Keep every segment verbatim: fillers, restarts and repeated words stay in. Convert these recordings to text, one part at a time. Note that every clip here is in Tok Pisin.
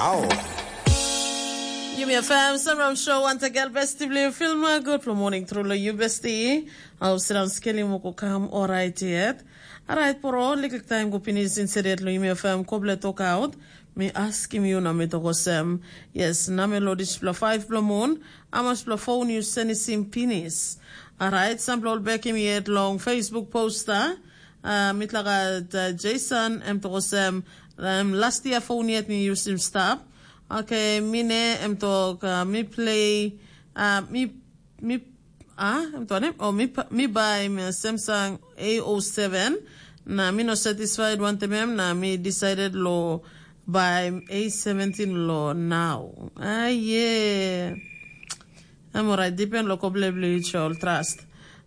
Au. Yumi F M, Samram Show, once again, besti bli filma, good for morning, true lo you, besti. Au, sidan skeli mo ko kam, alright yet. Alright, poro, liklik time go pinis insedet lo Yumi F M, koble talk out. Mi askim yu na mi tok olsem, yes, na mi lo dispela five blo moon, amas blo phone yu senisim pinis. Alright, sampela ol bekim yet long Facebook poster, uh, mitlaga uh, Jason, em tok olsem, um, last year phone yet mi yusim stap. Okay, mi ne, em tok, uh, mi play, uh, mi, mi, ah, em tok nem? Oh, mi, pa- mi buy mi Samsung A O seven, na mi no satisfied wantem em, na mi decided lo buy A seventeen lo now. Ah, yeah. Em orait, depend lo koble bli chol trust.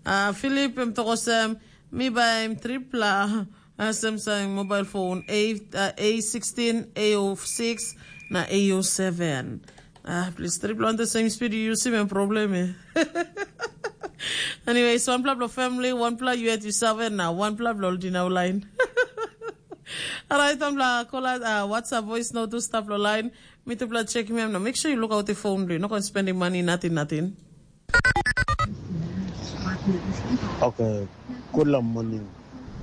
Uh, Philip, em tok olsem, mi buy tripla, uh, Samsung mobile phone, A, uh, A sixteen, A O six, na A O seven. Ah, please, tripla on the same speed you use him and problem eh. Anyways, one pla blo family, one pla you at you seven now, one pla blo dinau line. Alright, I'm la call out, uh, WhatsApp voice note to stop lo line. Mi tupela check him now. Make sure you look out the phone, bli. No go spending money, nothing, nothing. Okay, good morning.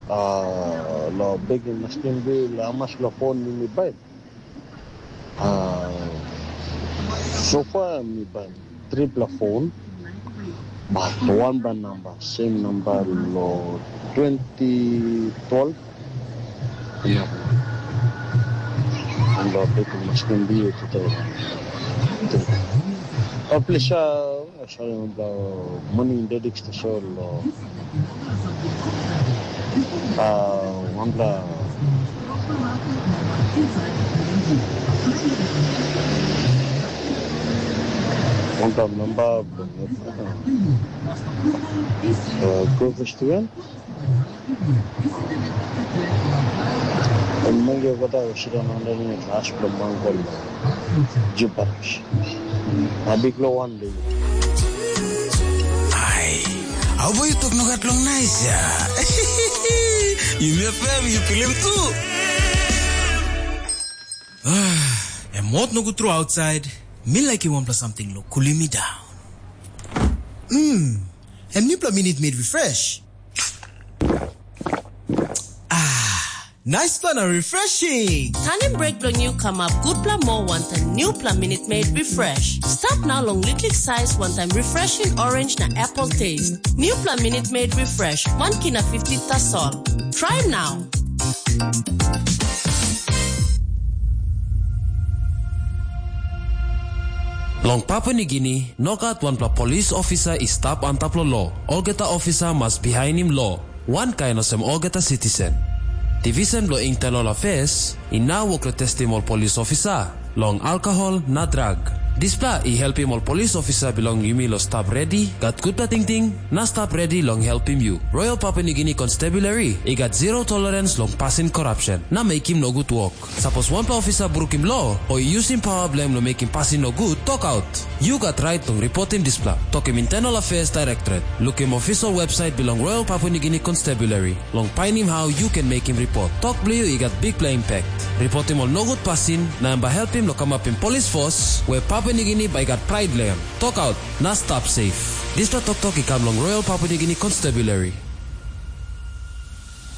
Uh, lo big maskin bi la mas lo phone ni mi bai. Uh, so far mi bai triple phone, but one by number, same number lo twenty twelve. Yeah. Lo big maskin bi today. Oh, please, uh, Sorry, wanpela moni dediks tasol, uh, wanpela wanpela memba, uh, go festival. Ol mange kota go sidon underneath last bilong mangkol. Jubas. Na bikpela wan de. Ai, au bai yu tok nogat long nais ya. Yumi FM, yu pilim tu. Em mot nogut tru outside. Mi laikim wanpela samting lo kulim mi daun. Mm, em nipela minit made refresh. Ah, nice fun and refreshing. Tanim break bilong yu kamap gutpela moa wantaim newpela Minute Maid Refresh. Stap nau long liklik sais wantaim refreshing orange na apple taste. Newpela Minute Maid Refresh, wan kina fifty tasol. Try now. Long Papua Nigini, nogat wanpela polis ofisa i stap antap long lo. Olgeta ofisa mas bihainim lo, wankain olsem olgeta sitisen. Divisen bilong Internal Affairs i nau wok long testim ol polis ofisa long alkohol na drag. Dispela i helpim ol polis ofisa bilong yumi long stap redi, gat gutpela tingting, na stap redi long helpim yu. Royal Papua Nigini Constabulary i gat zero tolerance long pasin korapsen na mekim nogut wok. Sapos wanpela ofisa brukim lo o i yusim pawa bilong em long mekim pasin nogut, tokaut. Yu gat rait long ripotim dispela. Tokim Internal Affairs Directorate. Lukim official website bilong Royal Papua Nigini Constabulary long painim hau yu ken mekim ripot. Tok bilong yu i gat bikpela impact. Ripotim ol nogut pasin, na em bai helpim long kamapim polis fos we Papua Nigini bai gat prait long em. Tokaut, na stap safe. Dispela toktok i kam long Royal Papua Nigini Constabulary.